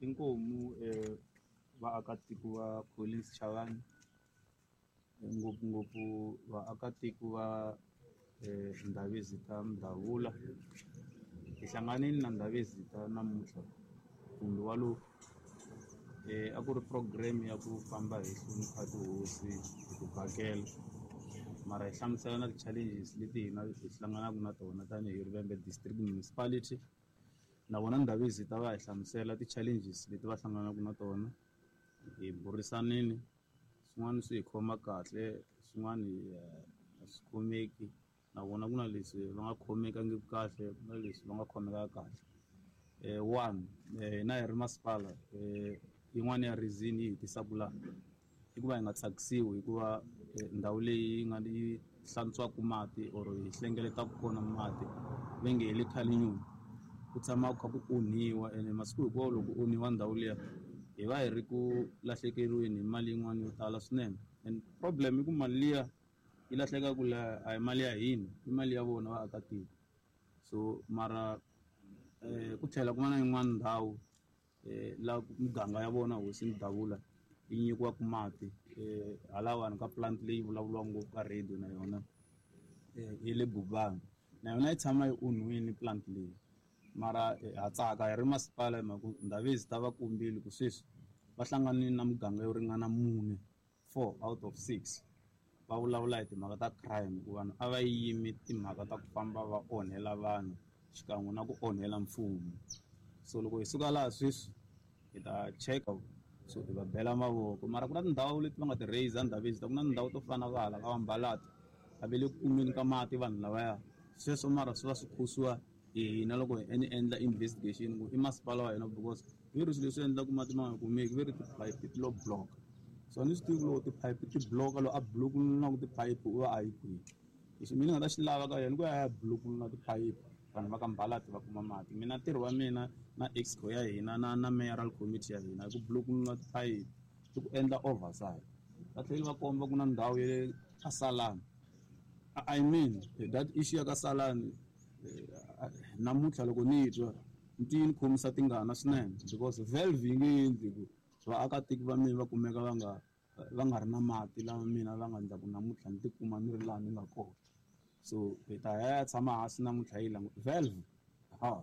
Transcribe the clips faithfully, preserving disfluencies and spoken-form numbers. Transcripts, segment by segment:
Inkomu eh, vaakatiko va Collins Chavani, ngopfungopfu vaakatiko va eh, Ndhavezitha Mdavula. Hi hlanganile na Ndhavezitha namuntlha kumbe walowu eh, a ku ri program ya ku famba hi hlonipha tihosi hi ku vhakela, mara hi hlamusela na ti-challenges leti hina hi hlanganaka na tona tanihi Vhembe District Municipality. Na vona Ndhavezitha va hi hlamusela ti-challenges leti va hlanganaka na tona. Hi burisanile, swin'wana swi hi khoma kahle, swin'wana a swi khomeki. Na vona ku na leswi va nga khomekangiki kahle, ku na leswi va nga khomeka kahle. Eh, one, hina hi ri masipala, eh, yin'wana ya reason yi hi tisaka laha i ku va hi nga tsakisiwi hikuva ndhawu leyi yi nga yi hlantswaka mati or hi hlengeletaka kona mati va nge hi le Cullinan, ku tshama ku kha ku onhiwa. Ene masiku hinkwawo loko ku onhiwa ndhawu liya hi va hi ri ku lahlekeriweni hi mali yin'wana yo tala swinene. And problem i ku mali liya yi lahlekaka la a hi mali ya hina, i mali ya vona vaakatiko. So mara eh, ku tlhela ku va na yin'wana ndhawu eh, la muganga ya vona hosi Mdavula yi nyikiwaka mati eh, halawani ka plant leyi vulavuriwaka ngopfu ka radio na yona eh, yi le Gubani, na yona yi tshama yi onhiwile plant leyi. Mara ha tsaka hi ri masipala hi mhaka ku Ndhavezitha va kombile ku sweswi va hlanganile na muganga yo ringana mune, four out of six, va vulavula hi timhaka ta crime, ku vanhu a va yimi timhaka ta ku famba va onhela vanhu xikan'we na ku onhela mfumo. So loko hi suka laha sweswi hi ta cheka, so hi va bela mavoko. Mara ku na tindhawu leti va nga ti raise Ndhavezitha, ku na tindhawu to fana na va hala ka Vambalati, a va le ku kumeni ka mati vanhu lavaya. Sweswo mara swi va swi khosiwa hi hina loko hi endla investigation ku i masipala wa hina, because ve ri swilo leswi endlaka mati ma nga kumeki ve ri tiphayiphi ti lo block. So a ni swi tivi loko tiphayiphi ti block, loko a block-unula tiphayiphi u va a yi kwihi. Lexi mina ni nga ta xi lava ka yena ku ya ya block-unula tiphayiphi vanhu va ka Mbalati va kuma mati. Mina ntirho wa mina na exco ya hina na na mayoral committee ya hina i ku block-unula tiphayiphi, i ku endla oversight. Va tlhela va komba ku na ndhawu ya le ka Salani. I mean that issue ya ka Salani namuntlha loko ni twa ni yi ni khomisa tingana swinene, because valve yi nge endli ku vaakatiko va mina va kumeka va nga va nga ri na mati lama mina va nga endla ku namuntlha ni tikuma ni ri laha ni nga kona. So hi ta ya tshama hansi namuntlha yi languta valve. Ha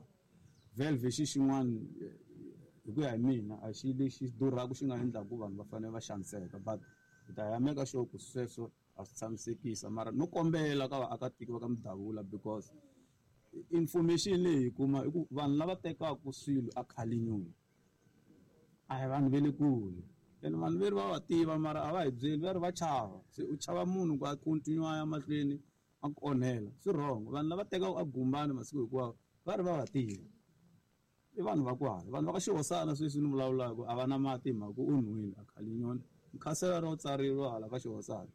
valve i xi xin'wana hi ku ya hi mina a xi lexi durhaka xi nga endlaka ku vanhu va fanele va xaniseka, but hi ta ya make sure ku sweswo a swi tshamisekisa. Mara no kombela ka vaakatiko va ka Mdavula, because information leyi hi kuma i ku vanhu lava tekaka swilo a Cullinan a hi vanhu va le kule, ene vanhu veri va va tiva mara a va hi byeli, va ri va chava. Se u chava munhu ku a continue a ya mahlweni a ku onhela, swi wrong. Vanhu lava tekaka a Gumbani masiku hinkwawo va ri va va tiva, i vanhu va kwala, vanhu va ka Xihosana sweswi ni vulavulaka a va na mati hi mhaka ku onhiwile a Cullinan. Mukhansela ro tsareriwa hala ka Xihosana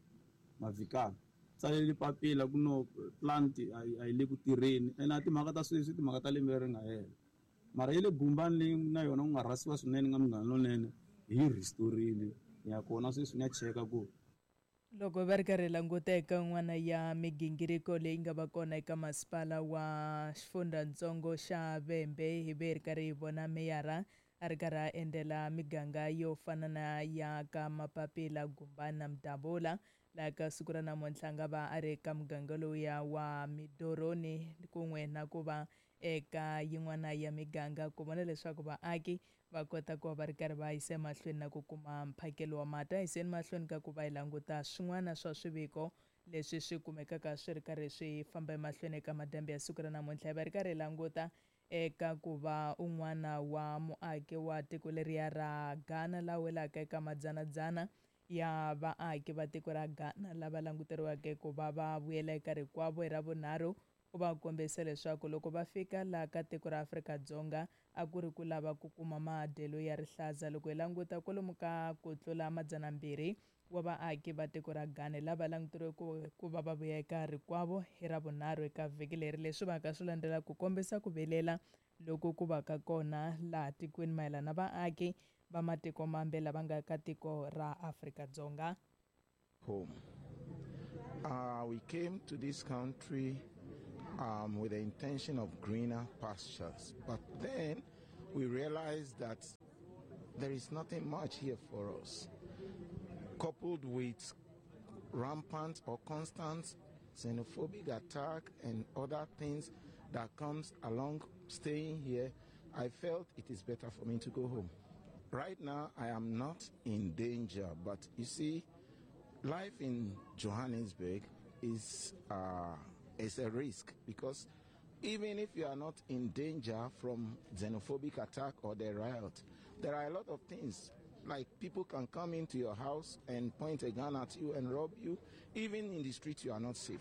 Mavhikana tsaleli papila ku no plant a yi le ku tirheni, ene a timhaka ta sweswi timhaka ta lembe leri nga hela. Mara yi le Gumbani leyi na yona ku nga rhasiwa swinene nga Munghana Lonene, hi restorile ya kona sweswi ni ya cheka ku loko va ri karhi languta eka yin'wana ya migingiriko leyi nga va kona eka masipala wa xifundzhantsongo xa Vhembe, hi ve hi ri karhi hi vona meyara a ri karhi a endlela miganga yo fana na ya ka Mapapila, Gumbani na Mdavula. Laha ka siku ra namuntlha nga va a ri eka muganga lowuya wa Midoroni kun'we na ku va eka yin'wana ya miganga ku vona leswaku vaaki va kota ku va va ri karhi va yisa emahlweni na ku kuma mphakelo wa mati. A yiseni mahlweni ka ku va hi languta swin'wana swa swiviko leswi swi kumekaka swi ri karhi swi famba emahlweni eka madyambu ya siku ra namuntlha. Hi va ri karhi hi languta eka ku va un'wana wa muaki wa tiko leriya ra Ghana la welaka eka madzanadzana ya vaaki va tiko ra Ghana lava languteriweke ku va va vuyela eka rikwavo hi Ravunharhu, u va kombisa leswaku loko va fika laha ka tiko ra Afrika-Dzonga a ku ri ku lava ku kuma madyelo ya rihlaza. Loko hi languta kwalomu ka ku tlula madzanambirhi wa vaaki va tiko ra Ghana lava languteriweke ku va va vuya eka rikwavo hi Ravunharhu eka vhiki leri, leswi va ka swi landzela ku kombisa ku vilela loko ku va ka kona laha tikweni mayelana na vaaki va matiko mambe lava nga ka tiko ra Afrika-Dzonga. Home. Uh, we came to this country um, with the intention of greener pastures, but then we realized that There is nothing much here for us. Coupled with rampant or constant xenophobic attack and other things that comes along staying here, I felt it is better for me to go home. Right now, I am not in danger, but you see, life in Johannesburg is, uh, is a risk, because even if you are not in danger from xenophobic attack or the riot, there are a lot of things. Like people can come into your house and point a gun at you and rob you. Even in the street, you are not safe.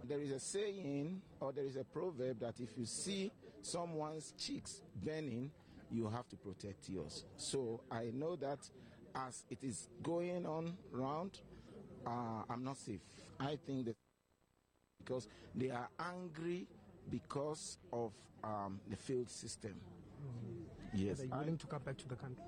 There is a saying, or there is a proverb, that if you see someone's cheeks burning, you have to protect yours. So I know that as it is going on round, uh, I'm not safe. I think that because they are angry because of um, the failed system. Mm. Yes. Are you willing to come back to the country?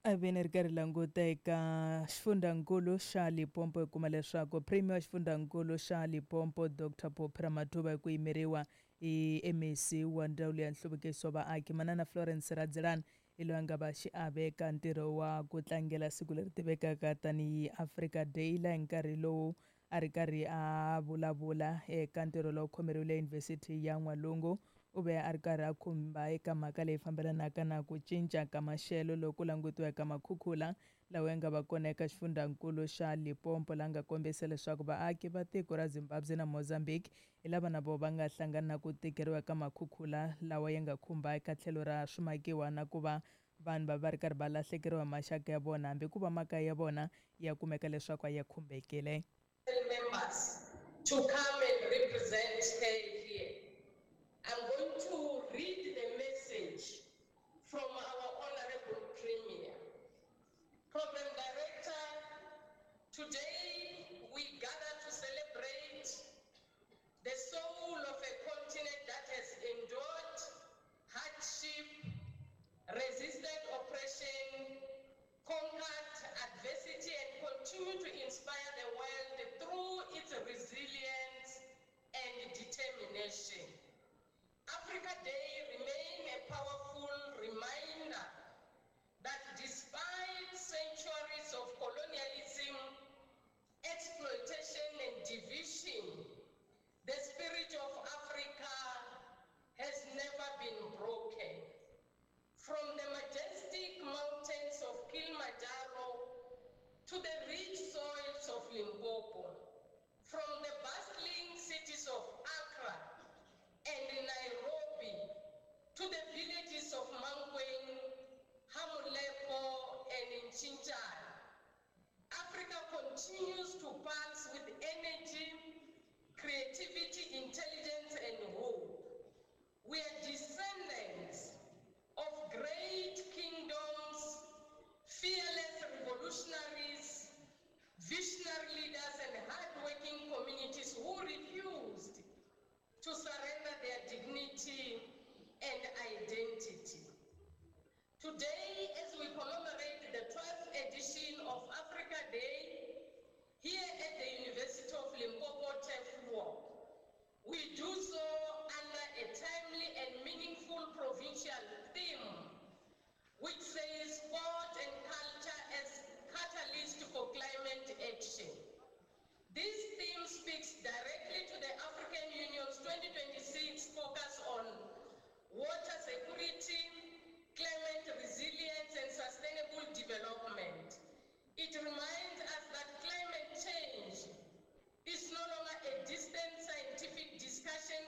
A ve ni ri karhi languta eka xifundzankulu xa Limpopo hi kuma leswaku Premier wa xifundzankulu xa Limpopo Doctor Phophi Ramathuba hi ku yimeriwa hi M E C wa Ndzawulo ya Nhluvukiso wa Vaaki Manana Florence Radzilani hi loyi a nga va xiave eka ntirho wa ku tlangela siku leri tivekaka tanihi Africa Day, laha hi nkarhi lowu a ri karhi a vulavula eka ntirho lowu khomeriwile Yunivhesiti ya N'walungu. U ve a ri karhi a khumba eka mhaka leyi fambelanaka na ku cinca ka maxelo loku langutiwaka makhukhula lawa ya nga va kona eka xifundzankulu xa Limpopo, laha nga kombisa leswaku vaaki va tiko ra Zimbabwe na Mozambique hi lava na vona va nga hlangana na ku tikeriwa ka makhukhula lawa ya nga khumba eka tlhelo ra swimakiwa na ku va vanhu va va ri karhi va lahlekeriwa hi maxaka ya vona hambi ku va makaya ya vona ya kumeka leswaku ya khumbekile. Members to come and represent her here. I'm going to read the message from our Honorable Premier. Program Director, today we gather to celebrate the soul of a continent that has endured hardship, resisted oppression, conquered adversity, and continue to inspire the world through its resilience and determination. Africa Day remains a powerful reminder that despite centuries of colonialism, exploitation, and division, the spirit of Africa has never been broken. From the majestic mountains of Kilimanjaro to the rich soils of Limpopo, from the bustling cities of Accra and Nairobi to the villages of Mankweng, Hamulepo, and Nchinchana, Africa continues to pulse with energy, creativity, intelligence, and hope. We are descendants of great kingdoms, fearless revolutionaries, visionary leaders, and hardworking communities who refused to surrender their dignity and identity. Today, as we commemorate the twelfth edition of Africa Day here at the University of Limpopo Turfloop, we do so under a timely and meaningful provincial theme, which says sport and culture as catalyst for climate action. This theme speaks directly to the African Union's twenty twenty-six focus on water security, climate resilience, and sustainable development. It reminds us that climate change is no longer a distant scientific discussion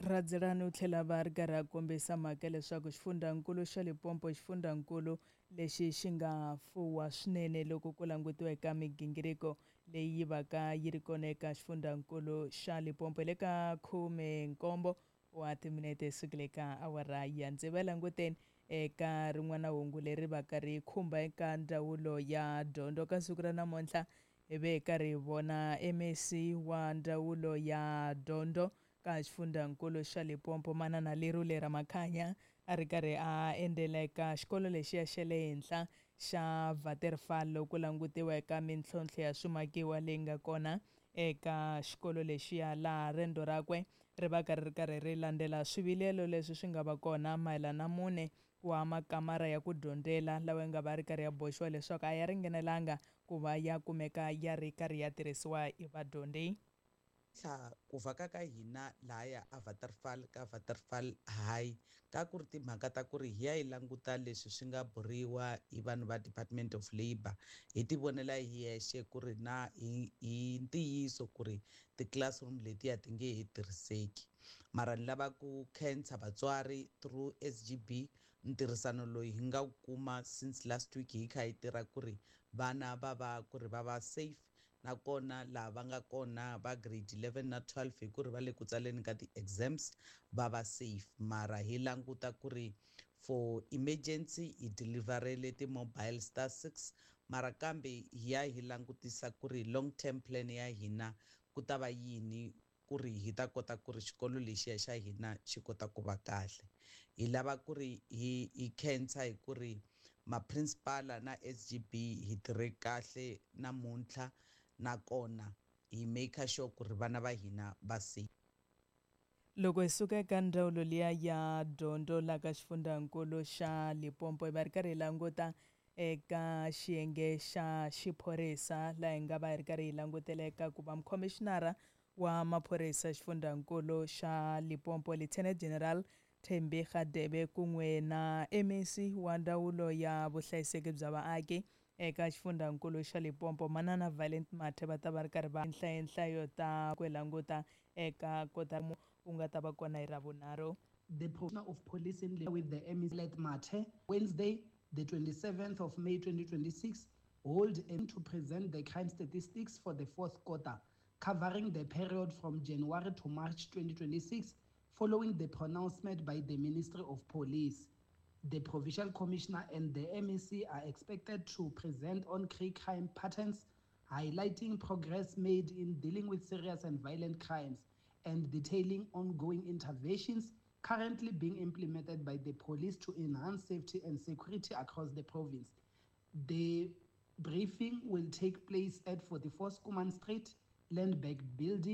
Radzilani u tlhela va ri karhi a kombisa mhaka leswaku xifundzankulu xa Limpopo xifundzankulu lexi xi nga fuwa swinene loko ku langutiwa eka migingiriko leyi yi vaka yi ri kona eka xifundzankulu xa Limpopo. Le ka khume nkombo wa timinete sukile ka awara ya tsevu languteni eka rin'wana hungu leri vaka ri khumba eka ndzawulo ya dyondzo. Ka siku ra namuntlha hi ve hi karhi hi vona M E C wa ndzawulo ya dyondzo ka xifundzankulu xa Limpopo Manana Lerule Ramakhanya a ri karhi a endzela eka xikolo lexiya xa le henhla xa Waterfall loko langutiwa eka mintlhontlho ya swimakiwa leyi nga kona eka xikolo lexiya, laha rendzo rakwe ri va karhi ri karhi ri landzela swivilelo leswi swi nga va kona mayelana na mune wa makamara ya ku dyondzela lawa ya nga va ri karhi ya boxiwa leswaku a ya ringanelanga ku va ya kumeka ya ri karhi ya tirhisiwa hi vadyondzi. Ku vhaka ka hina lahaya a Waterfall ka Waterfall High ka ku ri timhaka ta ku ri hi ya hi languta leswi swi nga buriwa hi vanhu va Department of Labour, hi ti vonela hi yexe ku ri na hi hi ntiyiso ku ri ti-classroom letiya ti nge he tirhiseki. Mara ni lava ku khensa vatswari through S G B ntirhisano loyi hi nga wu kuma since last week hi kha hi tirha ku ri vana va va ku ri va va safe, nakona laha va nga kona va grade eleven na twelve hi ku ri va le ku tsaleni ka ti-exams va va safe. Mara hi languta ku ri for emergency hi deliverele ti-mobile star six, mara kambe hi ya hi langutisa ku ri long term plan ya hina ku ta va yini ku ri hi ta kota ku ri xikolo lexiya xa hina xi kota ku va kahle. Hi lava ku ri hi hi khensa hi ku ri ma-principal na S G B hi tirhe kahle namuntlha, nakona hi make sure ku ri vana va hina va safe. Loko hi suka eka ndzawulo liya ya dyondzo laha ka xifundzankulu xa Limpopo hi va ri karhi hi languta eka xiyenge xa xiphorisa laha hi nga va hi ri karhi hi langutela eka ku va mukhomishinara wa maphorisa xifundzankulu xa Limpopo Lieutenant General Thembi Radebe kun'we na M E C wa ndzawulo ya vuhlayiseki bya vaaki eka xifundzankulu xa Limpopo Manana Violet Mathe va ta va ri karhi va nhlayo ta ku languta eka kota u nga ta va kona hi Ravunharhu. The Commissioner of Police in with the M E C Violet Mathe Wednesday the twenty-seventh of May twenty twenty-six hold aim to present the crime statistics for the fourth quarter covering the period from January to March twenty twenty-six following the pronouncement by the Ministry of Police. The Provincial Commissioner and the M E C are expected to present on key crime patterns, highlighting progress made in dealing with serious and violent crimes and detailing ongoing interventions currently being implemented by the police to enhance safety and security across the province. The briefing will take place at forty-four Schoeman Street, Landbank Building.